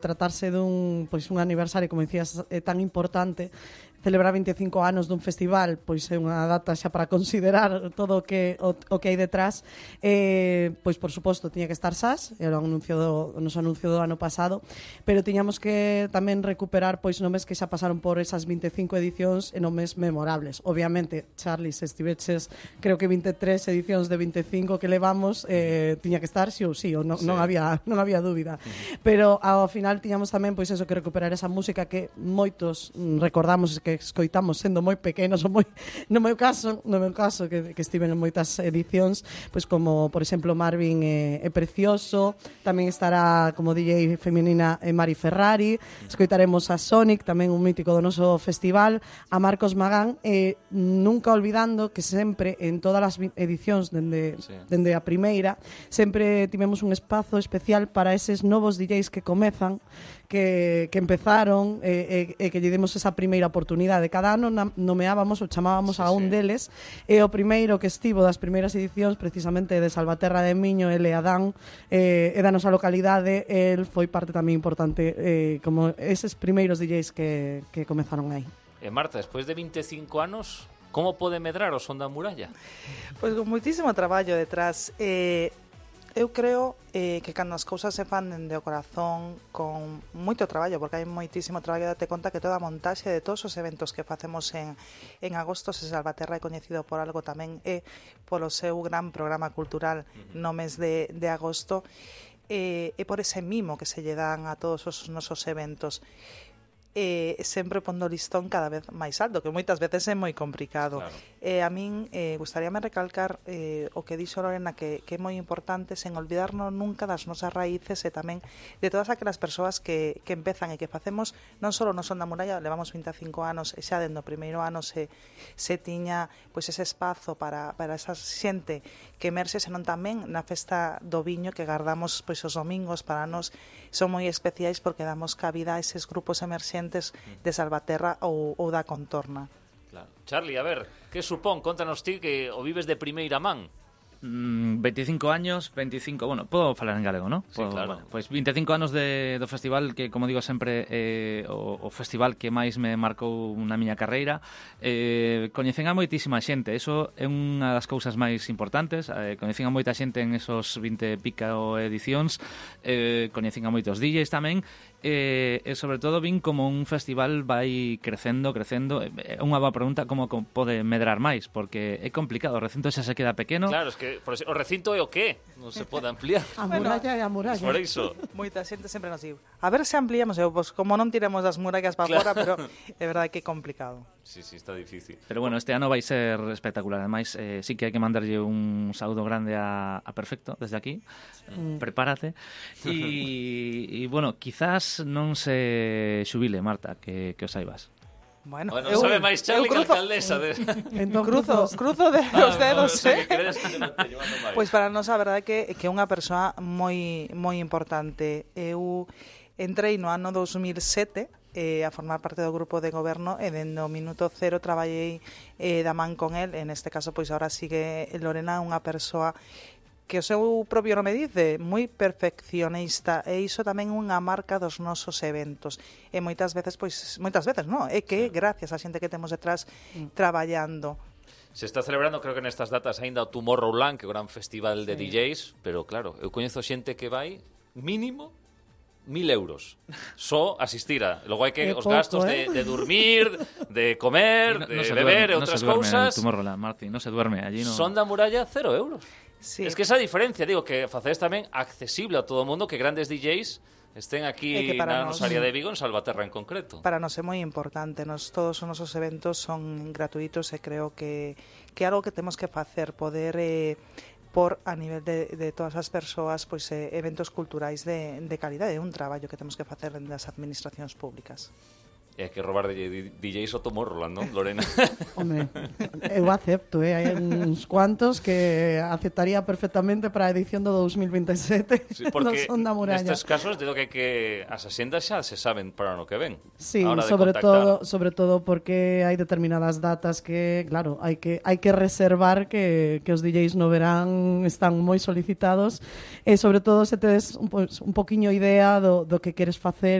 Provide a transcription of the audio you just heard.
tratarse un aniversario, como dicías, tan importante, celebrar 25 anos dun festival, pois é unha data xa para considerar todo o que hai detrás. Pois, por suposto, tiña que estar SAS, era o noso anuncio do ano pasado, pero tiñamos que tamén recuperar pois nomes que xa pasaron por esas 25 edicións e nomes memorables. Obviamente, Charlie, se estiveches, creo que 23 edicións de 25 que levamos, tiña que estar sí ou sí, ou non había dúbida. Pero ao final tiñamos tamén pois eso, que recuperar esa música que moitos recordamos que escoitamos sendo moi pequenos, ou no meu caso que estiven en moitas edicións, pois como, por exemplo, Marvin é Precioso, tamén estará como DJ feminina Mari Ferrari, escoitaremos a Sonic, tamén un mítico do noso festival, a Marcos Magán, nunca olvidando que sempre, en todas as edicións dende a primeira, sempre tivemos un espazo especial para eses novos DJs que comezan, que empezaron e que lle demos esa primeira oportunidade. Cada ano nomeábamos ou chamábamos a un deles, e o primeiro que estivo das primeiras edicións precisamente de Salvaterra de Miño, ele Adán, e da nosa localidade, el foi parte tamén importante como eses primeiros DJs que comezaron aí. Marta, despois de 25 anos, como pode medrar o Son da Muralla? Pois con moitísimo traballo detrás. Eu creo que cando as cousas se fan dende o corazón con moito traballo, porque hai moitísimo traballo, date conta que toda a montaxe de todos os eventos que facemos en agosto, se Salvaterra é coñecido por algo tamén é polo seu gran programa cultural no mes de agosto, e por ese mimo que se lle dan a todos os nosos eventos. Sempre pondo o listón cada vez máis alto, que moitas veces é moi complicado. Claro. A min gustaríame recalcar o que dixo Lorena, que é moi importante, sen olvidarnos nunca das nosas raíces e tamén de todas aquelas persoas que empezan e que facemos non só no Son da Muralla, levamos 25 anos e xa dende o primeiro ano se tiña pois ese espazo para esa xente que emerxe, senón tamén na festa do viño que guardamos pois os domingos. Para nós son moi especiais porque damos cabida a eses grupos emerxentes de Salvaterra ou da contorna. Claro. Charlie, a ver, que supón? Contanos ti que o vives de primeira man. 25 años, bueno, podo falar en galego, non? Sí, claro. Bueno, pois 25 anos do festival que, como digo sempre, o festival que máis me marcou na miña carreira. Coñecen a moitísima xente, eso é unha das cousas máis importantes. Coñecen a moita xente en esos 20 pica edicións, coñecen a moitos DJs tamén, e sobre todo vin como un festival vai crecendo. É unha boa pregunta como pode medrar máis, porque é complicado, o recinto xa se queda pequeno. Claro, es que o recinto é o qué? Non se pode ampliar. A muralla é a muralla. Por iso. Moita xente sempre nos diu, a ver se ampliamos, pois como non tiremos das murallas para fora, pero é verdade que é complicado. Sí, está difícil. Pero bueno, este ano vai ser espectacular. Ademais, sí que hai que mandarlle un saúdo grande a Perfecto desde aquí. Prepárate. E bueno, quizás non se xubile, Marta, que os saibas. Bueno, sabe máis Charlie que a alcaldesa. Entón cruzo os dedos, Pois para nós a verdade é que é unha persoa moi importante. Eu entrei no ano 2007 a formar parte do grupo de goberno e dende o minuto cero traballei da man con el. En este caso, pois agora sigue Lorena, unha persoa que o seu propio nome dice, moi perfeccionista, e iso tamén unha marca dos nosos eventos. E moitas veces non, é que gracias á xente que temos detrás traballando. Se está celebrando, creo que nestas datas aínda o Tomorrowland, que é o gran festival de DJs, pero claro, eu coñezo xente que vai mínimo 1.000 euros só asistir a. Logo hai que os gastos de dormir, de comer, de beber e outras cousas. Tomorrowland, Martín, non se duerme allí. Son da Muralla 0 euros. Sí. Es que esa diferencia, digo, que facedes tamén accesible a todo o mundo, que grandes DJs estén aquí na nosa área de Vigo, en Salvaterra en concreto. Para nós é moi importante, todos os nosos eventos son gratuitos e creo que é algo que temos que facer, poder por a nivel de todas as persoas, pois eventos culturais de calidade, é un traballo que temos que facer das administracións públicas. E hai que robar DJs o Tomorrowland, non, Lorena? Hombre, eu acepto, hai uns cuantos que aceptaría perfectamente para a edición do 2027 Sí, porque no Son da Muralla. nestes casos, digo que as asendas xa se saben para o ano que ven. Sí, sobre todo porque hai determinadas datas que, claro, hai que reservar que os DJs no verán están moi solicitados e sobre todo se tedes un poquiño idea do que queres facer